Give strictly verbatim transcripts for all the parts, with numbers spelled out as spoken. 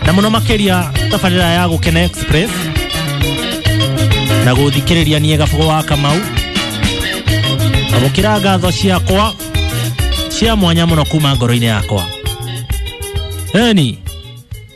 Na muno makiria tabarĩra ya Gũkena Express na gũthikĩrĩria niĩ Gabugo wa Kamau. Amũkĩra ngatho ciakwa cia mwanya mũno kuma ngoro-inĩ yakwa. Eni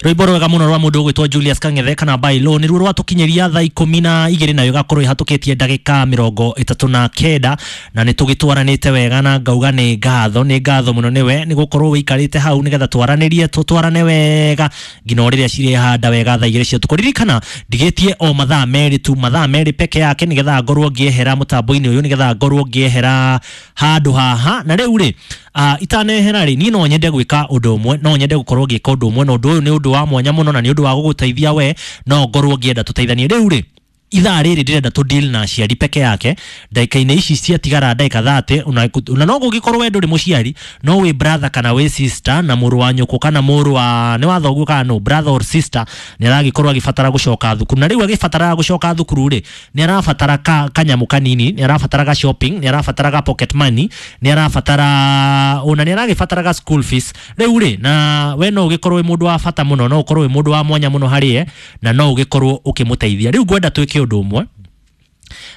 rwĩmbo rwega mũno rwa mũndũ ũgwĩtwo Julius Kang'ethe kana Bailo nĩruo rwatũkinyĩria thaa ikũmi na igĩrĩ nayo ĩgakorwo ĩhatũkĩtie ndagĩka mĩrongo ĩtatũ na kenda na nĩ tũgĩtwaranĩte wega na ngauga nĩ ngatho nĩ ngatho mũno nĩwe nĩ gũkorwo wĩikarĩte hau nĩgetha twaranĩrie tũtwarane wega nginya rĩrĩa cirĩhanda wega thaa igĩrĩ cia ũtukũ. Ririkana ndigĩtie o mathaa merĩ tu, mathaa merĩ peke yake nĩgetha ngorwo ngĩehera mũtambo-inĩ ũyũ, nĩgetha ngorwo ngĩehera handũ haha. Na rĩu rĩ uh, itanehera rĩ niĩ no nyende gwĩka ũndũ ũmwe, no nyende gũkorwo ngĩka ũndũ ũmwe, na ũndũ ũyũ nĩ ũndũ wa mwanya mũno na nĩ ũndũ wa gũgũteithia we, no ngorwo ngĩenda tũteithanie. Rĩu rĩ ithaa rĩrĩ ndĩrenda tũ deal na aciari peke yake ndagĩka-inĩ ici ciatigara ndagĩka thate, ona no gũgĩkorwo we ndũrĩ mũciari no wĩ brother kana wĩ sister na mũrũ wa nyũkũ kana mũrũ wa nĩ wa thoguo kana no brother or sister nĩ aragĩkorwo agĩbatara gũcoka thukuru, na rĩu agĩbatara gũcoka thukuru rĩ nĩ arabatara ka kanyamũ kanini, nĩ arabatara ga shopping, nĩ arabatara ga pocket money, nĩ arabatara ona nĩ aragĩbatara ga school fees. Rĩu rĩ na we no ũgĩkorwo wĩ mũndũ wa bata mũno, no ũkorwo wĩ mũndũ wa mwanya mũno harĩ ye na no ũgĩkorwo ũkĩmũteithia. Rĩu ngwenda twĩke ũndũ ũmwe.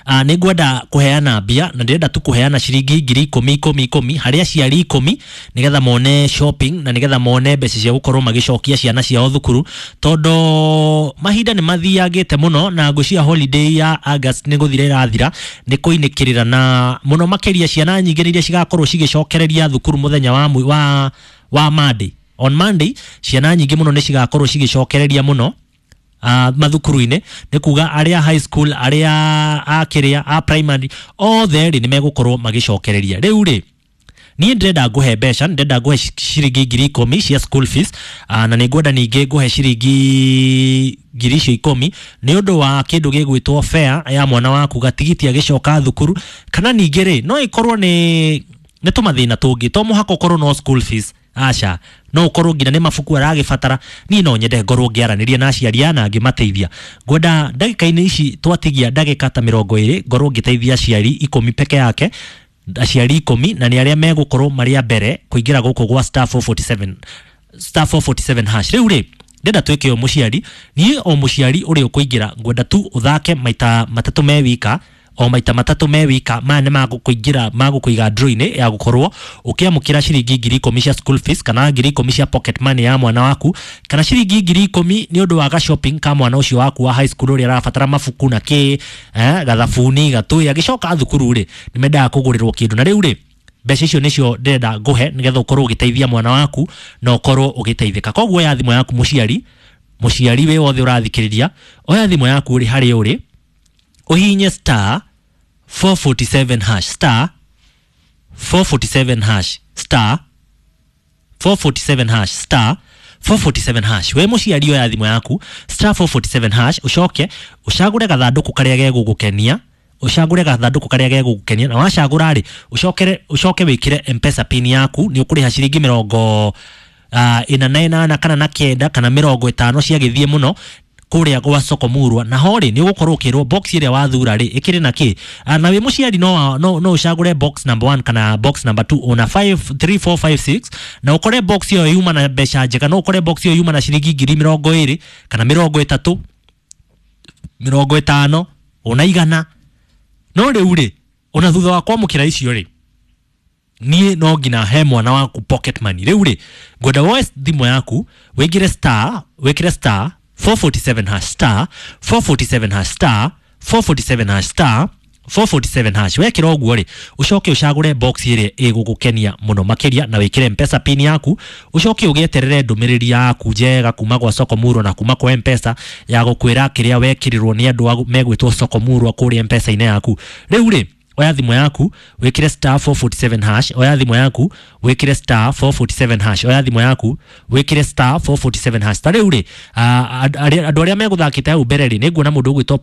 Uh, nĩ ngwenda kũheana mbia na ndĩrenda tu kũheana ciringi ngiri ikũmi ikũmi ikũmi harĩ aciari ikũmi nĩgetha mone shopping na nĩgetha mone mbeca cia gũkorwo magĩcokia ciana ciao thukuru, tondũ mahinda nĩ mathiangĩte mũno na ngwĩciria holiday ya August nĩ gũthira ĩrathira, nĩ kũinĩkĩrĩra na mũno makĩria ciana nyingĩ nĩ iria cigakorwo cigĩcokereria thukuru mũthenya wa, wa, wa Monday. On Monday ciana nyingĩ mũno nĩ cigakorwo cigĩcokereria mũno Uh, mathukuru-inĩ, nĩ kuga arĩa high school, arĩa a kĩrĩa a primary othe rĩ nĩ megũkorwo magĩcokereria. Rĩu rĩ niĩ ndĩrenda ngũhe mbeca, ndĩrenda ngũhe ciringi ngiri ikũmi cia school fees, uh, na nĩ ngwenda ningĩ ngũhe ciringi ngiri icio ikũmi nĩ ũndũ wa kĩndũ gĩgwĩtwo fare ya mwana waku gatigiti agĩcoka thukuru, kana ningĩ rĩ no ĩkorwo nĩ nĩ tũmathĩna tũngĩ, to mũhaka ũkorwo no school fees, aca no ũkorwo nginya nĩ mabuku aragĩbatara. Niĩ no nyende ngorwo ngĩaranĩria na aciari aya na ngĩmateithia. Ngwenda ndagĩka-inĩ ici twatigia ndagĩka ta mĩrongo ĩrĩ ngorwo ngĩteithia aciari ikũmi peke yake, aciari ikũmi na nĩ arĩa megũkorwo marĩ a mbere kũingĩra gũkũ gwa star four forty-seven star four forty-seven hash. Rĩu rĩ ndĩrenda twĩke o mũciari, niĩ o mũciari ũrĩa ũkũingĩra ngwenda tu ũthake maita matatũ me wika, o maita matatũ me wika, maya nĩ magũkũingĩra magũkũiga draw-inĩ ya gũkorwo ũkĩamũkĩra ciringi ngiri ikũmi cia school fees kana ngiri ikũmi cia pocket money ya mwana waku kana ciringi ngiri ikũmi nĩ ũndũ wa ga shopping ka mwana ũcio waku wa high school ũrĩa arabatara mabuku na kĩ eh, gathabuni gatũĩ agĩcoka thukuru rĩ nĩ mendaga kũgũrĩrwo kĩndũ. Na rĩu rĩ mbeca icio nĩcio ndĩrenda ngũhe nĩgetha ũkorwo ũgĩteithia mwana waku na ũkorwo ũgĩteithĩka. Koguo oya thimũ yaku mũciari, mũciari wĩ wothe ũrathikĩrĩria, oya thimũ yaku ũrĩ harĩa ũrĩ ũhihinye star four forty-seven hash star four forty-seven hash star four forty-seven hash star four forty-seven hash. We mũciari oya thimũ yaku star four forty-seven hash, ũcoke ũcagũre gathandũkũ karĩa gegũgũkenia, ũcagũre gathandũkũ karĩa gegũgũkenia, na wacagũra rĩ ũcokere ũcoke wĩkĩre M-Pesa pin yaku, nĩ ũkũrĩha ciringi mĩrongo uh, ĩna na ĩnana kana na kenda kana mĩrongo ĩtano ciagĩthiĩ mũno kũrĩa gwa Soko Murwa, na ho rĩ nĩ ũgũkorwo ũkĩrwo box ĩrĩa wathura rĩ ĩkĩrĩ na kĩ. Na wĩ mũciari no no no ũcagũre box number one kana box number two ona five three four five six, na ũkore box ĩyo yuma na mbeca njega, no ũkore box ĩyo yuma na ciringi ngiri mĩrongo ĩrĩ kana mĩrongo ĩtatũ mĩrongo ĩtano ona igana. No rĩu rĩ ona thutha wa kwamũkĩra icio rĩ niĩ no nginya he mwana waku pocket money. Rĩu rĩ ngwenda woe thimũ yaku wĩkĩre star wĩkĩre star four forty-seven hash star four forty-seven hash star four forty-seven hash star four forty-seven hash. Wekĩra ũguo rĩ ũcoke ũcagũre box ĩrĩa ĩgũgũkenia mũno makĩria na wĩkĩre M-Pesa pin yaku, ũcoke ũgĩeterere ndũmĩrĩri yaku njega kuma gwa Soko Murwa na kuma kwa M-Pesa ya gũkwĩra kĩrĩa wekĩrirwo nĩ andũ megwĩtwo Soko Murwa kũrĩa M-Pesa-inĩ yaku. Rĩu rĩ oya thimũ yaku wĩkĩre star four forty-seven hash, oya thimũ yaku wĩkĩre star four forty-seven hash, oya thimũ yaku wĩkĩre star four forty-seven hash. Ta rĩu rĩ andũ arĩa megũthakĩte hau mbere rĩ nĩ nguona mũndũ ũgwĩtwo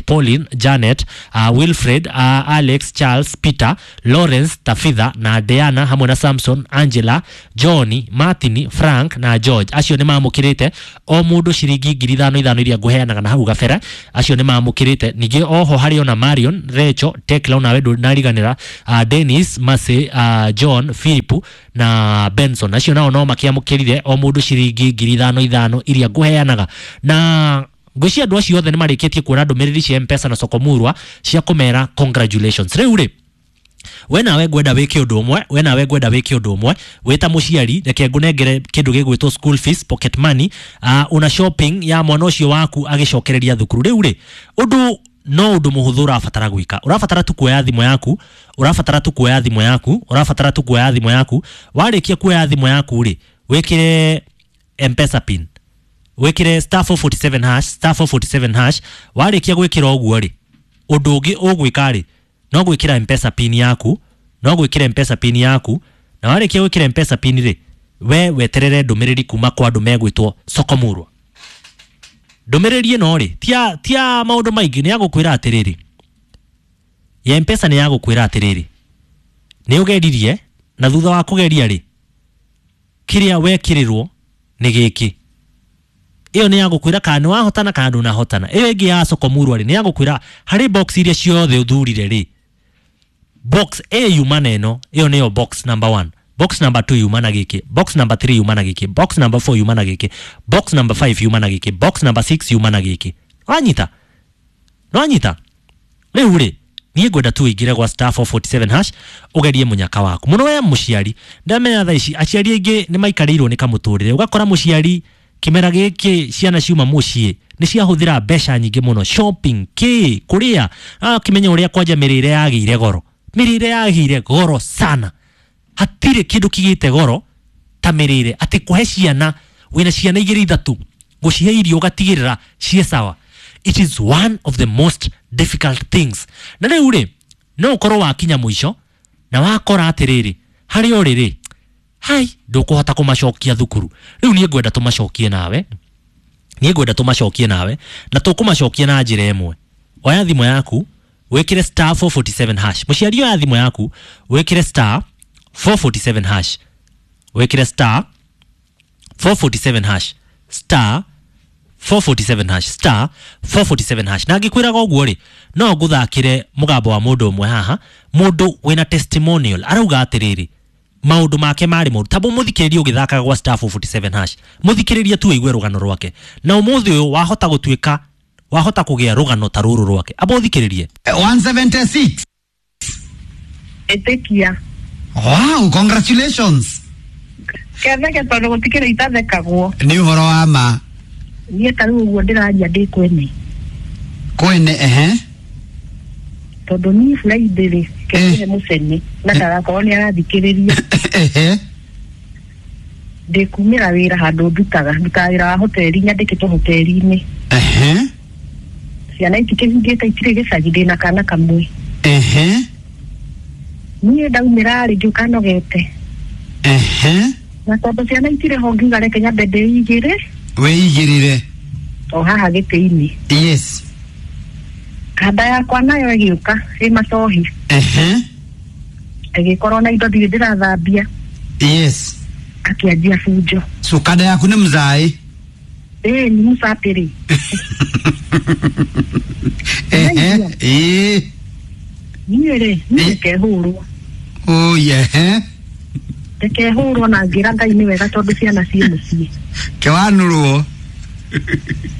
Pauline, Janet, uh, Wilfred, uh, Alex, Charles, Peter, Lawrence, Tafitha na Diana hamwe na Samson, Angela, Johnny, Martin, Frank na George. Acio nĩ mamũkĩrĩte o mũndũ ciringi ngiri ithano ithano iria ngũheanaga na hau gabere, acio nĩ mamũkĩrĩte. Ningĩ oho harĩ ona Marion, Rachel, Tekla ona nawe ndũnariganĩra, uh, Dennis Mase, uh, John Philip na Benson, acio nao no makĩamũkĩrire o mũndũ ciringi ngiri ithano ithano iria ngũheanaga. Na ngwĩciria andũ acio othe nĩ marĩkĩtie kuona ndũmĩrĩri cia M-Pesa na Sokomurwa cia kũmera congratulations. Rĩu rĩ, we nawe ngwenda wĩke ũndũ ũmwe, we nawe ngwenda wĩke ũndũ ũmwe wĩ ta mũciari, reke ngũnengere kĩndũ gĩgwĩtwo school fees, pocket money, uh, una shopping ya mwana ũcio waku agĩcokereria thukuru. Rĩu rĩ, ũndũ no ũndũ mũhũthũ ũrabatara gwĩka, ũrabatara tu kuoya thimũ yaku, ũrabatara tu kuoya thimũ yaku, ũrabatara tu kuoya thimũ yaku. Warĩkia kuoya thimũ yaku rĩ, wĩkĩre M-Pesa pin, wĩkĩre star four forty-seven hash, star four forty-seven hash. Warĩkia gwĩkĩra ũguo rĩ, ũndũ ũngĩ ũgwĩka rĩ, no gwĩkĩra M-Pesa pin yaku, no gwĩkĩra M-Pesa pin yaku, na warĩkia gwĩkĩra M-Pesa pin rĩ, we weterere ndũmĩrĩri kuma kwa andũ megwĩtwo Sokomurwa. Ndũmĩrĩri ĩno rĩ, tia tia maũndũ maingĩ, nĩ ya gũkwĩra atĩrĩrĩ, ya M-Pesa nĩ ya gũkwĩra atĩrĩrĩ, nĩ ũgeririe, na thutha wa kũgeria rĩ, kĩrĩa wekĩrĩrwo nĩ gĩkĩ. Ĩyo nĩ ya gũkwĩra kana nĩ wahotana kana ndũnahotana. Ĩyo ĩngĩ ya Sokomurwa rĩ, nĩ ya gũkwĩra harĩ box iria ciothe ũthurire rĩ, box A yuma na ĩno, ĩyo nĩyo box number one, box number two yuma na gĩkĩ, box number three yuma na gĩkĩ, box number four yuma na gĩkĩ, box number five yuma na gĩkĩ, box number six yuma na gĩkĩ. Wanyita? Wanyita? Rĩu rĩ, niĩ ngwenda tu ũingĩre gwa star four forty-seven hash ũgerie mũnyaka waku mũno. We mũciari, ndamenya thaa ici aciari aingĩ nĩ maikarĩirwo nĩ kamũtũrĩre, ũgakora mũciari kĩmera gĩkĩ ciana ciuma mũciĩ nĩ ciahũthĩra mbeca nyingĩ mũno shopping, kĩ kũrĩa, akĩmenya ũrĩa kwanja mĩrĩre yagĩire goro, mĩrĩre yagĩire goro sana, hatirĩ kĩndũ kĩgĩte goro ta mĩrĩre, atĩ kũhe ciana, wĩna ciana igĩrĩ ithatũ, gũcihe irio ũgatigĩrĩra ciĩ sawa, it is one of the most difficult things. Na rĩu rĩ, no ũkorwo wakinya mũico na wakora atĩrĩrĩ, harĩa ũrĩ rĩ, hai ndũkũhota kũmacokia thukuru. Rĩu niĩ ngwenda tũmacokie nawe, niĩ ngwenda tũmacokie nawe, na tũkũmacokia na njĩra ĩmwe. Oya thimũ yaku wĩkĩre star four forty-seven hash. Mũciari, oya thimũ yaku wĩkĩre star four forty-seven hash, wĩkĩre star four forty-seven hash, star four forty-seven hash, star four forty-seven hash. Na ngĩkwĩraga ũguo rĩ, no ngũthakĩre mũgambo wa mũndũ ũmwe haha, mũndũ wĩna testimonial, arauga atĩrĩrĩ, maũndũ make marĩ moru. Tabo mũthikĩrĩrie ũgĩthakaga gwa star four forty-seven hash, mũthikĩrĩrie tu ũigue rũgano rwake, na ũmũthĩ ũyũ wahota gũtuĩka, wahota kũgĩa rũgano ta rũrũ rwake. Amba ũthikĩrĩrie. one seventy-six. Ĩtĩkia. Wow, congratulations. Ketheke tondũ gũtikĩrĩ itathekagwo. Nĩ ũhoro wa ma. Niĩ ta rĩu ũguo ndĩraria ndĩ kwene. Kwene, ehe. Tondũ niĩ Friday rĩ, kĩhe mũcene na ndagakorwo nĩ arathikĩrĩria. Ehe. Ndĩkumĩra wĩra handũ ndutaga, ndutaga wĩra wa hoteli, nyandĩkĩtwo hoteli-inĩ. Ehe. Ciana itikĩhingĩte, itirĩ gĩcagi, ndĩna kana kamwe. Ehe. Niĩ ndaumĩra rĩ, ngĩũka nogete. Ehe. Na tondũ ciana itirĩ ho ngiuga reke nyambe ndĩigĩre. Wĩigĩrĩre. O haha gĩtĩ-inĩ. Yes. Kanda yakwa nayo ĩgĩũka ĩ macohi. Ehe. Ĩgĩkorwo na indo ndirĩ ndĩrathambia. Yes. Akĩanjia bunjo. So kanda yaku nĩ mzaĩ? Ĩĩ, nĩ mũcapĩrĩ. Ehe. Ĩĩ. Niĩ rĩ, niĩ ndikehũrwo. Oh, yeah. Ndikehũrwo na ngĩra Ngai nĩ wega tondũ ciana ciĩ mũciĩ. Kĩwanũrwo.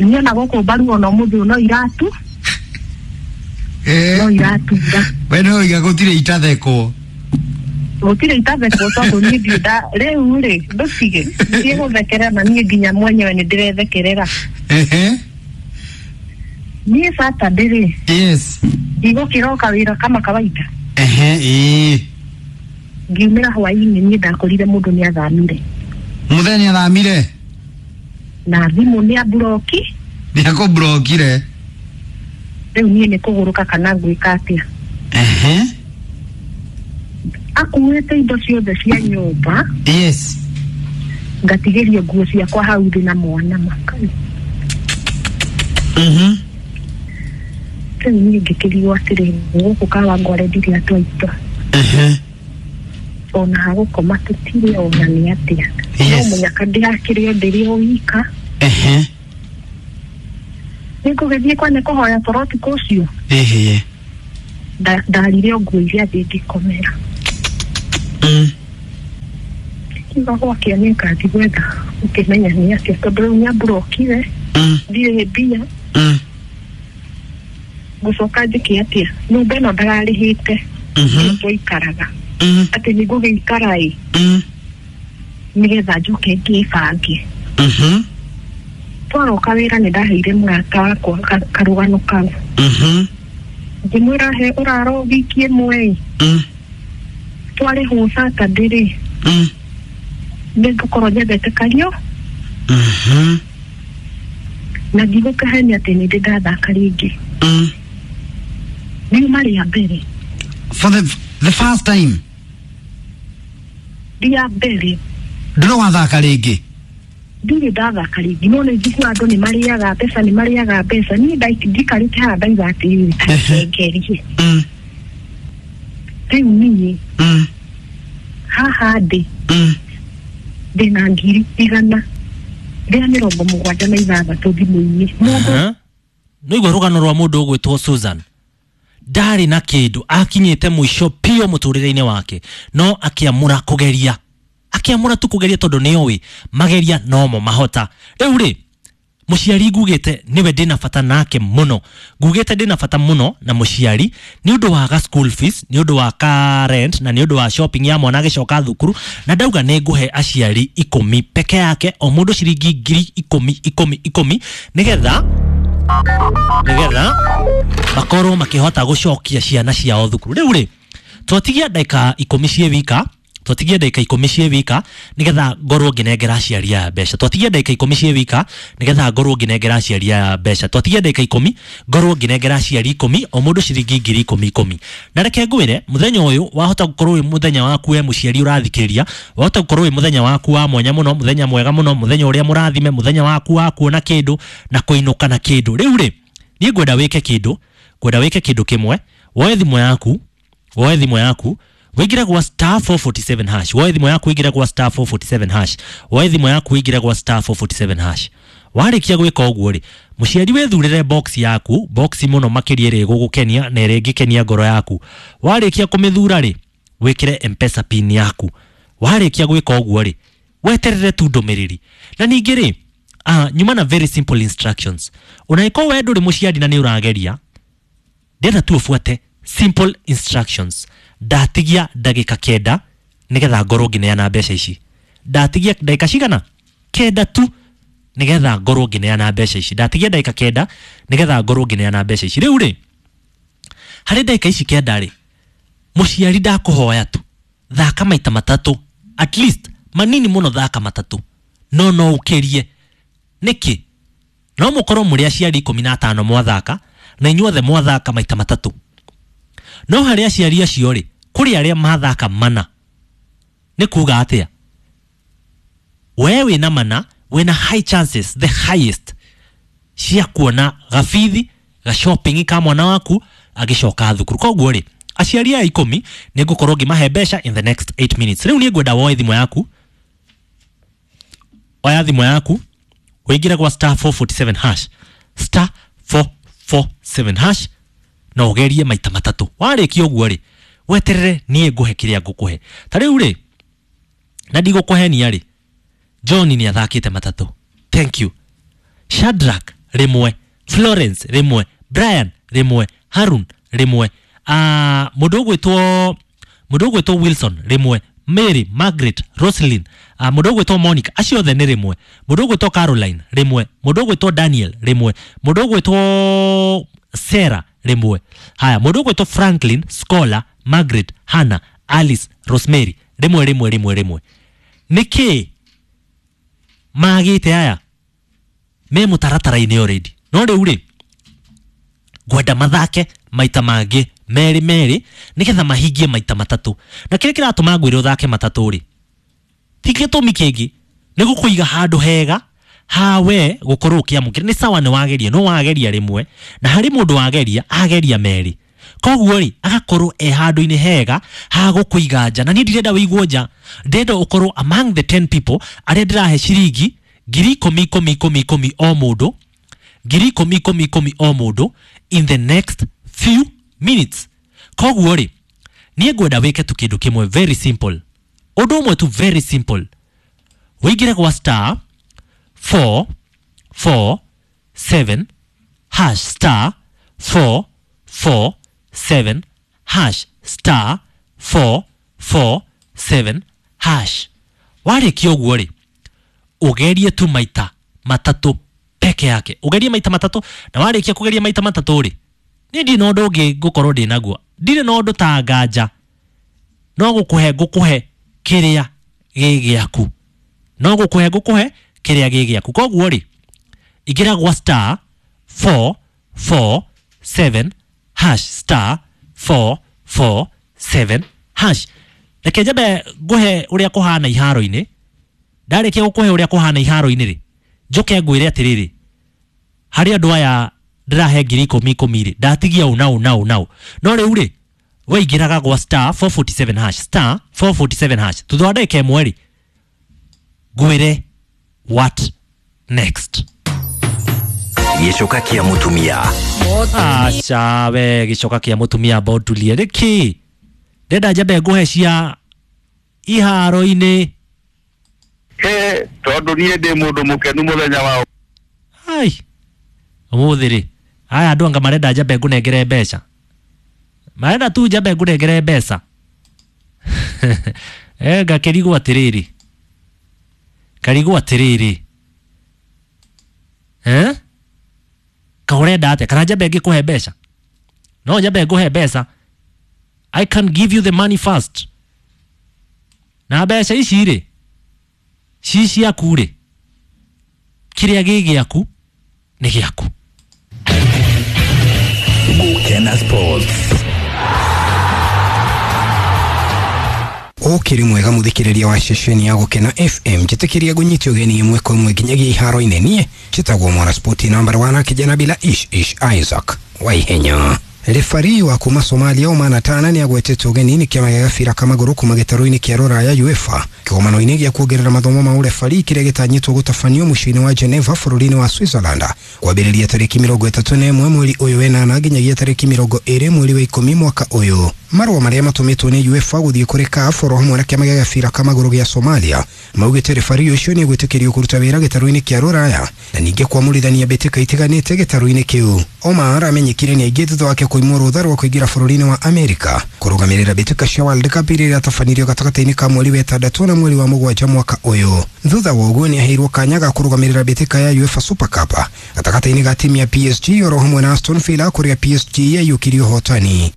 Niĩ ona gũkũ mbaru ona ũmũthĩ no iratu. Eh. No iratura. We no iga gũtirĩ itathekwo. Gũtirĩ itathekwo tondũ niĩ ndirĩ nda rĩu rĩ, ndũtige. Ndiĩ gũthekerera na niĩ nginya mwenyewe nĩ ndĩrethekerera. Ehe. Niĩ Saturday rĩ. Yes. Ndigũkĩroka wĩra kama kawaida. Ehe, ĩĩ. Ngiumĩra hwaĩ-inĩ niĩ ndakorire mũndũ nĩ athamire. Mũthenya nĩ athamire? Na thimũ nĩ amburoki. Nĩ akũmburokire. Rĩu niĩ nĩ kũgũrũka kana ngwĩka atĩa? Ehe. Akuĩte indo ciothe cia nyũmba. Yes. Ngatigĩrio nguo ciakwa hau thĩ na mwana makani. Mhm. Rĩu niĩ ngĩkĩrigwo atĩrĩrĩ, gũkũ Kawangware ndirĩ atwaitwa. Ehe. Ona hagũkoma tũtirĩ ona nĩ atĩa. No Yes. mũnyaka ndĩrakĩrĩ o ndĩrĩ o wika. Ehe. Nĩngũgĩthiĩ kwa nĩ kũhoya toro ũtukũ ũcio. Ehe. Ndarire o nguo iria thĩ ngĩkomera. Mm. Kiuga gwakĩa nĩ ngathi gwetha ũkĩmenya nĩ atĩa tondũ rĩu nĩamburokire Mm. ndirĩ mbia. Mm. Ngũcoka njĩke atĩa nyũmba ĩno ndararĩhĩte Mhm. twaikaraga Mm. atĩ nĩ ngũgĩikara ĩ Mm. nĩgetha njoke ngĩbange. Mhm. Twaroka wĩra nĩ ndaheire mũrata wakwa ka- karũgano kau. Mhm. Ngĩmwĩra he ũraro wiki ĩmwe ĩ Mm. twarĩhwo Saturday rĩ Mm. nĩ ngũkorwo nyendete kario Mhm. na ndigũkahenia atĩ nĩ ndĩ ndathaka rĩngĩ. Mm. Riuma rĩa mbere For the the first time rĩa mbere ndũrĩ wathaka rĩngĩ. Ndirĩ ndathaka rĩngĩ no nĩ njiguaga andũ nĩ marĩaga mbeca nĩ marĩaga mbeca niĩ ndai- ndikarĩte haha ndaiga atĩrĩrĩ ngerie. Mm. Rĩu niĩ Mm. haha ndĩ Mm. ndĩna ngiri igana rĩa mĩrongo mũgwanja na ithathatũ thimũ-inĩ mũndũ. Nĩigua rũgano rwa mũndũ ũgwĩtwo Susan ndarĩ na kĩndũ akinyĩte mũico piũ mũtũrĩre-inĩ wake no akĩamũra kũgeria akĩamũra tu kũgeria tondũ nĩoĩ mageria nomo mahota. Rĩu rĩ mũciari ngugĩte nĩwe ndĩna bata nake mũno ngugĩte ndĩna bata mũno na mũciari nĩ ũndũ wa ga school fees nĩ ũndũ wa ka rent na nĩ ũndũ wa shopping ya mwana agĩcoka thukuru na ndauga nĩ ngũhe aciari ikũmi peke yake o mũndũ ciringi ngiri ikũmi ikũmi ikũmi nĩgetha nĩgetha makorwo makĩhota gũcokia ciana ciao thukuru. Rĩu rĩ twatigia ndagĩka ikũmi ciĩ wika twatigia ndagĩka ikũmi ciĩ wika nĩgetha ngorwo ngĩnengera aciari aya mbeca twatigia ndagĩka ikũmi ciĩ wika nĩgetha ngorwo ngĩnengera aciari aya mbeca twatigia ndagĩka ikũmi ngorwo ngĩnengera aciari ikũmi o mũndũ ciringi ngiri ikũmi ikũmi. Na reke ngwĩre mũthenya ũyũ wahota gũkorwo wĩ mũthenya waku we mũciari ũrathikĩrĩria wahota gũkorwo wĩ mũthenya waku wa mwanya mũno mũthenya mwega mũno mũthenya ũrĩa mũrathime mũthenya waku wa kuona kĩndũ na kũinũka na kĩndũ. Rĩu rĩ niĩ ngwenda wĩke kĩndũ ngwenda wĩke kĩndũ kĩmwe woe thimũ yaku woe thimũ yaku wĩingĩre gwa star four forty-seven hash woe thimũ yaku wĩingĩre gwa star four forty-seven hash woe thimũ yaku wĩingĩre gwa star four forty-seven hash. Warĩkia gwĩka ũguo rĩ mũciari wĩthurĩre box yaku box mũno makĩria ĩrĩa ĩgũgũkenia na ĩrĩa ĩngĩkenia ngoro yaku. Warĩkia kũmĩthura rĩ wĩkĩre M-Pesa pin yaku. Warĩkia gwĩka ũguo rĩ weterere tu ndũmĩrĩri na ningĩ rĩ ah, nyuma na very simple instructions unaĩkorwo we ndũrĩ mũciari na nĩ ũrageria ndĩrenda tu ũbuate simple instructions. Ndatigia ndagĩka kenda nĩgetha ngorwo ngĩneana mbeca ici ndatigia ndagĩka cigana kenda tu nĩgetha ngorwo ngĩneana mbeca ici ndatigia ndagĩka kenda nĩgetha ngorwo ngĩneana mbeca ici. Rĩu rĩ harĩ ndagĩka ici kenda rĩ mũciari ndakũhoya tu thaka maita matatũ at least manini mũno thaka matatũ no no ũkĩrie nĩkĩ no mũkorwo mũrĩ aciari ikũmi na atano mwathaka na inyuothe mwathaka maita matatũ no harĩ aciari acio rĩ kũrĩ arĩa mathaka mana nĩ kuga atĩa we wĩna mana wĩna high chances the highest cia kuona gabithi ga shopping ka mwana waku agĩcoka thukuru. Koguo rĩ aciari aya ikũmi nĩ ngũkorwo ngĩmahe mbeca in the next eight minutes. Rĩu niĩ ngwenda woe thimũ yaku oya thimũ yaku ũingĩre gwa star four forty-seven hash star four four seven hash na ũgerie maita matatũ. Warĩkia ũguo rĩ weterere niĩ ngũhe kĩrĩa ngũkũhe. Ta rĩu rĩ na ndigũkũhenia rĩ John nĩ athakĩte matatũ thank you Shadrack rĩmwe Florence rĩmwe Brian rĩmwe Harun rĩmwe ah mũndũ ũgwĩtwo mũndũ ũgwĩtwo Wilson rĩmwe Mary Margaret Roslyn uh, mũndũ ũgwĩtwo Monica acio othe nĩ rĩmwe mũndũ ũgwĩtwo Caroline rĩmwe mũndũ ũgwĩtwo Daniel rĩmwe mũndũ ũgwĩtwo Sarah rĩmwe haya mũndũ ũgwĩtwo Franklin Scholar Margaret Hannah Alice Rosemary rĩmwe rĩmwe rĩmwe rĩmwe. Nĩkĩ magĩte aya me mũtaratara-inĩ already no rĩu rĩ ngwenda mathake maita mangĩ merĩ merĩ nĩgetha mahingie maita matatũ na kĩrĩa kĩratũma ngwĩre ũthake matatũ rĩ ti gĩtũmi kĩngĩ nĩ gũkũiga handũ hega hawe gũkorwo ũkĩamũkĩra nĩ sawa nĩ wageria no wageria rĩmwe na harĩ mũndũ wageria ageria merĩ koguo rĩ agakorwo e handũ-inĩ hega ha gũkũiga nja na niĩ ndirenda wĩigwo nja ndĩrenda ũkorwo among the ten people arĩa ndĩrahe ciringi ngiri ikũmi ikũmi ikũmi ikũmi o mũndũ ngiri ikũmi ikũmi ikũmi o mũndũ in the next few minutes. Koguo rĩ, niĩ ngwenda wĩke tu kĩndũ kĩmwe very simple, ũndũ ũmwe tu very simple. Wĩingĩre gwa star four four seven hash star four four seven hash star four four seven hash. Warĩkia ũguo rĩ, ũgerie tu maita matatũ peke yake, ũgerie maita matatũ. Na warĩkia kũgeria maita matatũ rĩ, niĩ ndirĩ na ũndũ ũngĩ ngũkorwo ndĩ naguo, ndirĩ na ũndũ ta nganja, no gũkũhe ngũkũhe kĩrĩa gĩ gĩaku, no gũkũhe ngũkũhe kĩrĩa gĩ gĩaku. Koguo rĩ, ingĩra gwa star four four seven hash star four four seven hash. Reke njambe ngũhe ũrĩa kũhana iharo-inĩ. Ndarĩkia gũkũhe ũrĩa kũhana iharo-inĩ rĩ, njoke ngwĩre atĩrĩrĩ, harĩ andũ aya ndĩrahe ngiri ikũmi ikũmi rĩ, ndatigia ũ na ũ na ũ na ũ. No rĩu rĩ, weingĩraga gwa star four forty-seven hash star four forty-seven hash, thutha wa ndagĩka ĩmwe rĩ, ngwĩre what next. Gĩcoka kĩa mũtumia. Aca we, gĩcoka kĩa mũtumia bondulie nĩkĩ? Ndenda njambe ngũhe cia iharo-inĩ. He, tondũ niĩ ndĩ mũndũ mũkenu mũthenya wa ai ũmũthĩ rĩ, aya andũ anga marenda njambe ngũnengere mbeca, marenda tu njambe ngũnengere mbeca. Eh, ngakĩrigwo atĩrĩrĩ, ngarigwo atĩrĩrĩ, eh, ka ũrenda atĩa? Kana njambe ngĩkũhe mbeca? No njambe ngũhe mbeca. I can give you the money first. Na mbeca ici rĩ, ci ciaku rĩ, kĩrĩa gĩ gĩaku nĩ gĩaku. Gũkena Sports. Ũkĩrĩ mwega mũthikĩrĩria wa ceceni ya Gũkena F M, njĩtĩkĩria ngũnyite ũgeni ĩmwe kwa ĩmwe nginyagia iharo-inĩ. Niĩ njĩtagwo mwana spoti number one kijana bila ish ish Isaac Waihenya. Refari wa kuma Somalia Omar Tana ni agwetetwo ũgeni nĩ kĩama gĩa gabira ka magũrũ kuma gĩtarũ-inĩ kĩa rũraya UEFA kĩgomano-inĩ gĩa kuongerera mathomo ma ũrefari kĩrĩa gĩtanyĩtwo gũtabanio mũciĩ-inĩ wa Geneva bũrũri-inĩ wa Switzerland kwambĩrĩria tarĩki mĩrongo ĩtatũ na ĩmwe mweri ũyũ wenana nginyagia tarĩki mĩrongo ĩrĩ mweri wa ikũmi mwaka ũyũ. Marũa marĩa matũmĩtwo nĩ UEFA gũthiĩ kũrĩ C A F oro hamwe na kĩama gĩa gabira ka magũrũ gĩa Somalia maugĩte refari ũcio nĩ egwĩtĩkĩrio kũruta wĩra gĩtarũ-inĩ kĩa rũraya na ningĩ kwamũrithania mbĩtĩka itiganĩte gĩtarũ-inĩ kĩu. Omar amenyekire nĩ aingĩ thutha wake kũimwo rũtha rwa kũingĩra bũrũri-inĩ wa Amerika kũrũgamĩrĩra mbĩtĩka cia World Cup iria iratabanĩrio gatagatĩ-inĩ ka mweri wa ĩtandatũ na mweri wa mũgwanja mwaka ũyũ. Thutha wa ũguo nĩ aheirwo kanya ga kũrũgamĩrĩra mbĩtĩka ya UEFA Super Cup gatagatĩ-inĩ ga timu ya P S G oro hamwe na Aston Villa kũrĩa P S G yaiyũkirie ũhotani.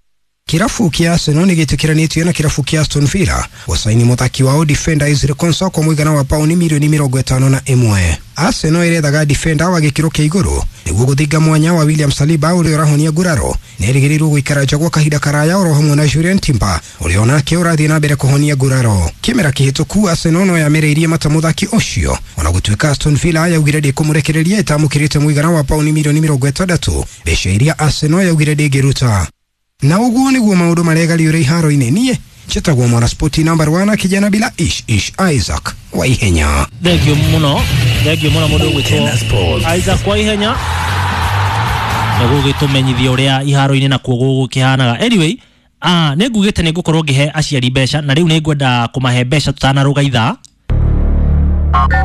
Kirabu kĩa Arsenal nĩ gĩtĩkĩranĩtio na kirabu kĩa Aston Villa gũcaini mũthaki wao defender Ezri Konsa kwa mũigana wa pauni milioni mĩrongo ĩtano na ĩmwe. Arsenal ĩrethaga defender wa gĩkĩro kĩa igũrũ nĩguo gũthinga mwanya wa William Saliba ũrĩa ũrahonia nguraro na erĩgĩrĩirwo gũikara nja gwa kahinda karaya oro hamwe na Julian Timber ũrĩa onake ũrathiĩ na mbere kũhonia nguraro. Kĩmera kĩhĩtũku Arsenal no yamereirie mata mũthaki ũcio ona gũtuĩka Aston Villa yaugire ndĩkũmũrekereria ĩtamũkĩrĩte mũigana wa pauni milioni mĩrongo ĩtandatũ, mbeca iria Arsenal yaugire ndĩngĩruta. Na ũguo nĩguo maũndũ maregariũra iharo-inĩ. Niĩ njĩtagwo mwana spoti number one kijana bila ish ish Isaac Waihenya. Thank you mũno, thank you mũno mũndũ ũgwĩtwo Isaac Waihenya nĩ gũgĩtũmenyithia ũrĩa iharo-inĩ nakuo gũgũkĩhanaga. Anyway, ah, nĩ ngugĩte nĩ ngũkorwo ngĩhe aciari mbeca na rĩu nĩ ngwenda kũmahe mbeca tũtanarũga ithaa.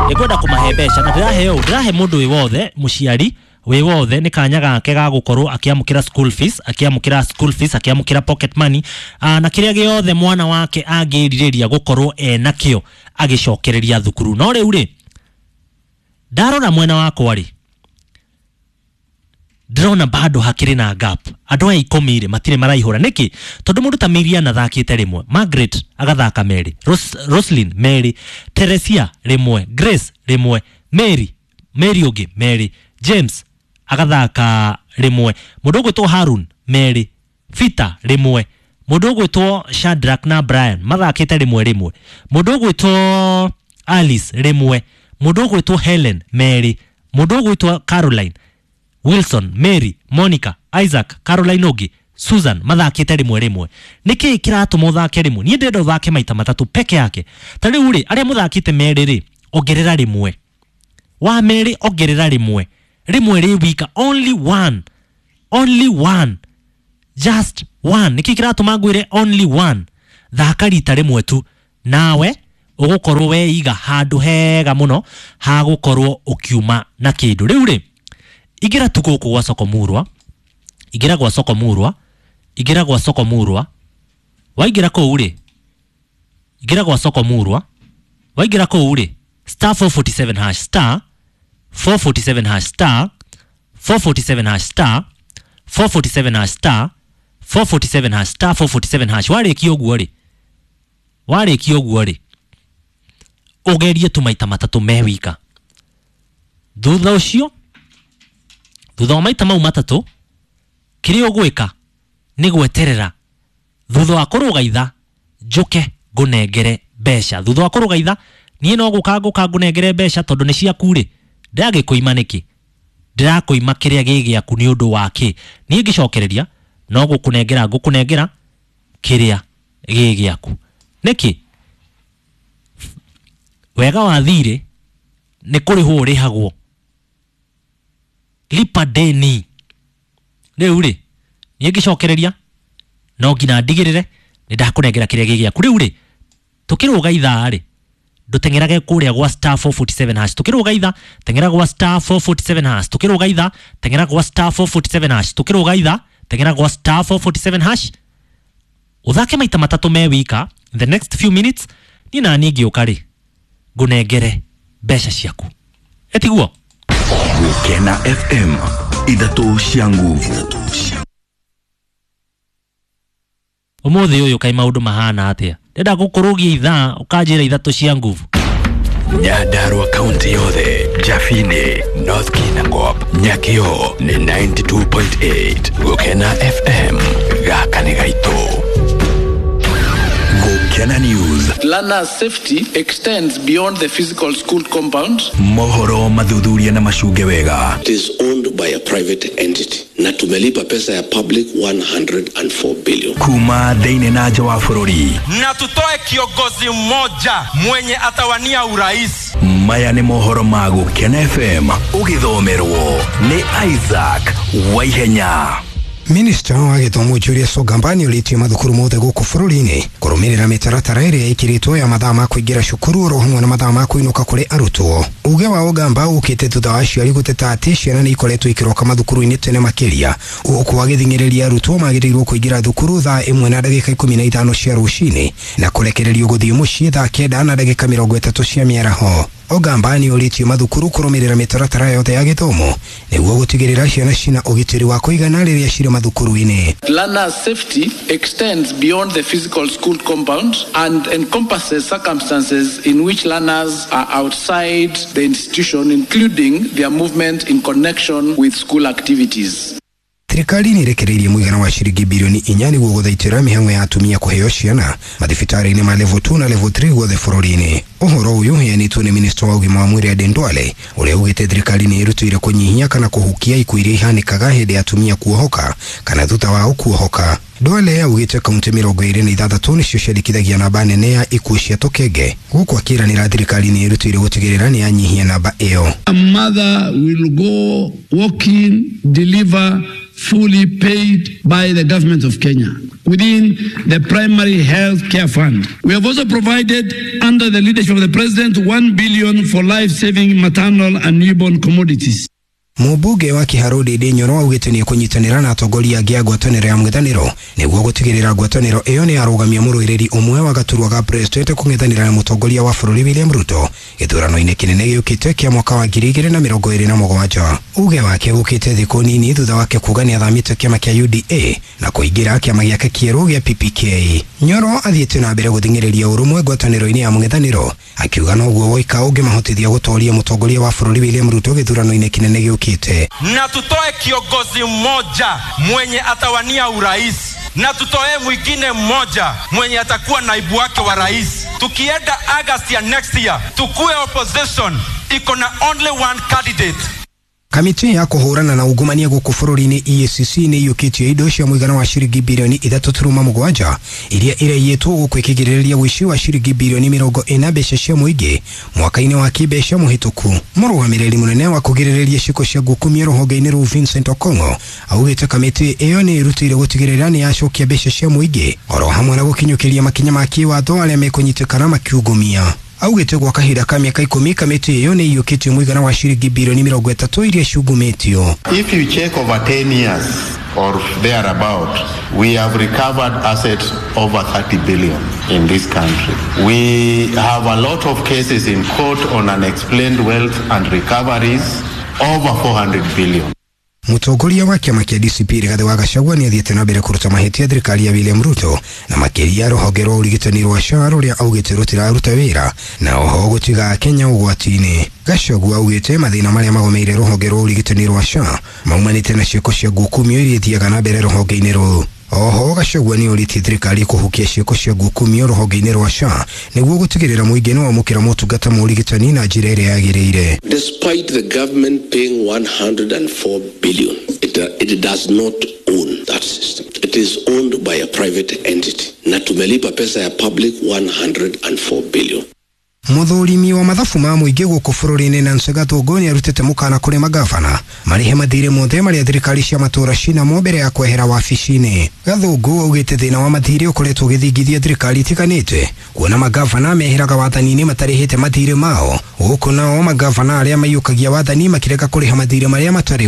Nĩ ngwenda kũmahe mbeca na ndĩrahe ũũ, ndĩrahe mũndũ wĩ wothe mũciari wĩ wothe nĩ kanya gake ga gũkorwo akĩamũkĩra school fees, akĩamũkĩra school fees, akĩamũkĩra pocket money, ah, na kĩrĩa gĩothe mwana wake angĩrirĩria gũkorwo enakĩo agĩcokereria thukuru. No rĩu rĩ, ndarora mwena wakwa rĩ, ndĩrona bado hakĩrĩ na gap. Andũ aya ikũmi rĩ matirĩ maraihũra. Nĩkĩ? Tondũ mũndũ ta Miriam athakĩte rĩmwe, Margaret agathaka merĩ, Ros Roslyn merĩ, Teresia rĩmwe, Grace rĩmwe, Mary Mary ũngĩ merĩ, James agathaka rĩmwe, mũndũ ũgwĩtwo Harun merĩ, Peter rĩmwe, mũndũ ũgwĩtwo Shadrack na Brian mathakĩte rĩmwe rĩmwe, mũndũ ũgwĩtwo Alice rĩmwe, mũndũ ũgwĩtwo Helen merĩ, mũndũ ũgwĩtwo Caroline, Wilson, Mary, Monica, Isaac, Caroline ũngĩ, Susan mathakĩte rĩmwe rĩmwe. Nĩkĩ kĩratũma ũthake rĩmwe? Niĩ ndĩrenda ũthake maita matatũ peke yake. Ta rĩu rĩ, arĩa mũthakĩte merĩ rĩ, ongerera rĩmwe. Wa merĩ ongerera rĩmwe. Rĩmwe rĩ wika, only one. Only one. Just one. Nĩkĩ kĩratũma ngwĩre only one? Thaka rita rĩmwe tu nawe ũgũkorwo weiga handũ hega mũno ha gũkorwo ũkiuma na kĩndũ. Rĩu rĩ, ingĩra tu gũkũ gwa Soko Murwa, ingĩra gwa Soko Murwa, ingĩra gwa Soko Murwa, waingĩra kũu rĩ, ingĩra gwa Soko Murwa, waingĩra kũu rĩ, star four forty-seven hash, star four forty-seven hash, star four forty-seven hash, star four forty-seven hash, star four forty-seven hash, star four forty-seven hash. Warĩkia ũguo rĩ, warĩkia ũguo rĩ, ũgerie tu maita matatũ me wika. Thutha ũcio, thutha wa maita mau matatũ, kĩrĩa ũgwĩka nĩ gweterera thutha wa kũrũga itha njũke ngũnengere mbeca. Thutha wa kũrũga itha niĩ no gũka ngũka ngũnengere mbeca tondũ nĩ ciaku rĩ, ndĩragĩkũima nĩkĩ? Ndĩrakũima kĩrĩa gĩ gĩaku nĩ ũndũ wa kĩ? Niĩ ngĩcokereria no gũkũnengera ngũkũnengera kĩrĩa gĩ gĩaku. Nĩkĩ? Wega wa thirĩ nĩ kũrĩhwo ũrĩhagwo. Lipa deni. Rĩu rĩ, niĩ ngĩcokereria no nginya ndigĩrĩre nĩ ndakũnengera kĩrĩa gĩ gĩaku. Rĩu rĩ, tũkĩrũga ithaa rĩ, ndũteng'erage kũrĩa gwa star four forty-seven hash. Tũkĩrũga ithaa, teng'era gwa star four forty-seven hash. Tũkĩrũga ithaa, teng'era gwa star four forty-seven hash. Tũkĩrũga ithaa, teng'era gwa star four forty-seven hash. Ũthake maita matatũ me wika in the next few minutes, niĩ na niĩ ngĩũka rĩ, ngũnengere mbeca ciaku. Etiguo? Gukena F M, ithatũ cia nguvu. Ũmũthĩ ũyũ kaĩ maũndũ mahana atĩa? Ndĩrenda gũkũrũgia ithaa ũkanjĩra ithatũ cia nguvu. Nyandarua kaunti yothe, Jafini, North Kinangop, Nyakio ni ninety-two point eight. Gukena F M, gaka nĩ gaitũ. Gukena News. Learner safety extends beyond the physical school compound. Mohoro mathuthuria na macunge wega. It is owned by a private entity. Na tumelipa pesa ya public one hundred and four billion. Kuma thĩinĩ na nja wa bũrũri. Na tutoe kiongozi mmoja mwenye atawania urais. Maya nĩ mohoro ma Gukena F M ũgĩthomerwo nĩ Isaac Waihenya. Minista wa gĩthomo Julius Ogamba nĩorĩtie mathukuru mothe gũkũ bũrũri-inĩ kũrũmĩrĩra mĩtaratara ĩrĩa ĩkĩrĩtwo ya mathaa ma kũingĩra cukuru oro hamwe na mathaa ma kũinũka kũrĩ arutwo. Uge wa Ogamba ũkĩte thutha wa aciari gũteta atĩ ciana nĩ ikoretwo ikĩroka mathukuru-inĩ tene makĩria, gũkũ agĩthing'ĩrĩria arutwo magĩrĩirwo kũingĩra thukuru thaa ĩmwe na ndagĩka ikũmi na ithano cia rũcinĩ na kũrekererio gũthiĩ mũciĩ thaa kenda na ndagĩka mĩrongo ĩtatũ cia mĩaraho. Ogamba nĩorĩtie mathukuru kũrũmĩrĩra mĩtaratara yothe ya gĩthomo nĩguo gũtigĩrĩra ciana cina ũgitĩri wa kũigana rĩrĩa cirĩ mathukuru-inĩ. Learner safety extends beyond the physical school compound and encompasses circumstances in which learners are outside the institution, including their movement in connection with school activities. Thirikari nĩ ĩrekereirie mũigana wa ciringi bilioni inya nĩguo gũthaitĩra mĩhang'o ya atumia kũheo ciana mathibitarĩ-inĩ ma level two na level three guothe bũrũri-inĩ. Ũhoro ũyũ ũheanĩtwo nĩ minista wa ũgima wa mwĩrĩ Aden Duale ũrĩa ugĩte thirikari nĩ ĩrutĩire kũnyihia kana kũhukia ikuũ iria ihanĩkaga hĩndĩ ya atumia kuohoka kana thutha wao kuohoka. Duale augĩte kaunti mĩrongo ĩrĩ na ithathatũ nĩcio ciandĩkithagia namba nene ya ikuũ cia tũkenge, gũkũ akĩranĩra thirikari nĩ ĩrutĩire gũtigĩrĩra nĩ yanyihia namba ĩyo. A mother will go walk in, deliver fully paid by the government of Kenya within the primary health care fund. We have also provided, under the leadership of the president, one billion for life-saving maternal and newborn commodities. Mũmbunge wa Kiharu Ndindi Nyoro augĩte nĩ ekũnyitanĩra na atongoria angĩ a ngwatanĩro ya mũng'ethanĩro nĩguo gũtigĩrĩra ngwatanĩro ĩyo nĩ yarũgamia mũrũĩrĩri ũmwe wa gaturwa ga president kũng'ethanĩra na mũtongoria wa bũrũri William Ruto gĩthurano-inĩ kĩnene gĩũkĩte kĩa mwaka wa ngiri igĩrĩ na mĩrongo ĩrĩ na mũgwanja. Uge wake ũkĩte thikũ nini thutha wake kuga nĩ athamĩte kĩama kĩa U D A na kũingĩra kĩama gĩake kĩerũ gĩa P P K. Nyoro athiĩte na mbere gũthing'ĩrĩria ũrũmwe ngwatanĩro-inĩ ya mũng'ethanĩro akiuga noguo woika ũngĩmahotithia gũtoria mũtongoria wa bũrũri William Ruto gĩthurano-inĩ kĩnene gĩũkĩte. Na tutoe kiongozi mmoja mwenye atawania urais na tutoe mwingine mmoja mwenye atakuwa naibu wake wa rais. Tukienda August ya next year, tukue opposition iko na only one candidate. Kamĩtĩ ya kũhũrana na ungumania gũkũ bũrũri-inĩ E A C C nĩ iyũkĩtie indo cia mũigana wa ciringi bilioni ithatũ turuma mũgwanja iria iraiyĩtwo gũkũ ĩkĩgirĩrĩria ũici wa ciringi bilioni mĩrongo ĩna mbeca cia mũingĩ mwaka-inĩ wa kĩmbeca mũhĩtũku. Mũrũgamĩrĩri mũnene wa kũgirĩrĩria ciĩko cia ngukumio rũhonge-inĩ rũu Vincent Okong'o augĩte kamĩtĩ ĩyo nĩ ĩrutĩire gũtigĩrĩra nĩ yacokia mbeca cia mũingĩ oro hamwe na gũkinyũkĩria makinya ma kĩwatho arĩa mekũnyitĩkana makiungumia. Augĩte gwa kahinda ka mĩaka ikũmi kamĩtĩ ĩyo nĩ iyũkĩtie mũigana wa ciringi bilioni mĩrongo ĩtatũ iria ciungumĩtio. If you check over ten years or thereabout, we have recovered assets over thirty billion in this country. We have a lot of cases in court on unexplained wealth and recoveries over four hundred billion. Mũtongoria wa kĩama kĩa D C P Rigathĩ wa Gachagua nĩ athiĩte na mbere kũruta mahĩtia thirikari ya William Ruto na makĩria rũhonge rwa ũrigitani rwa S H A rũrĩa augĩte rũtiraruta wĩra na oho gũtiga Kenya ũgwati-inĩ. Gachagua augĩte mathĩna marĩa magomeire rũhonge rwa ũrigitani rwa S H A maumanĩte na ciĩko cia ngukumio iria ithiaga na mbere rũhonge-inĩ rũu. Oho Gachagua nĩ orĩtie thirikari kũhukia ciĩko cia ngukumio rũhonge-inĩ rwa S H A nĩguo gũtigĩrĩra mũingĩ nĩ wamũkĩra motungata ma ũrigitani na njĩra ĩrĩa yagĩrĩire. Despite the government paying one hundred and four billion, it, uh, it does not own that system. It is owned by a private entity. Na tumelipa pesa ya public one hundred and four billion. Mũthũrimi wa mathabu ma mũingĩ gũkũ bũrũri-inĩ Nancy Gathũngũ nĩarutĩte mũkana kũrĩ magavana marĩhe mathirĩ mothe marĩa thirikari cia matũũra cinamo mbere ya kwehera wabici-inĩ. Gathũngũ augĩte thĩna wa mathirĩ ũkoretwo ũgĩthingithia thirikari itiganĩte kuona magavana meheraga wathani-inĩ matarĩhĩte mathirĩ mao, gũkũ nao magavana arĩa maiyũkagia wathani makĩrega kũrĩha mathirĩ marĩa matarĩ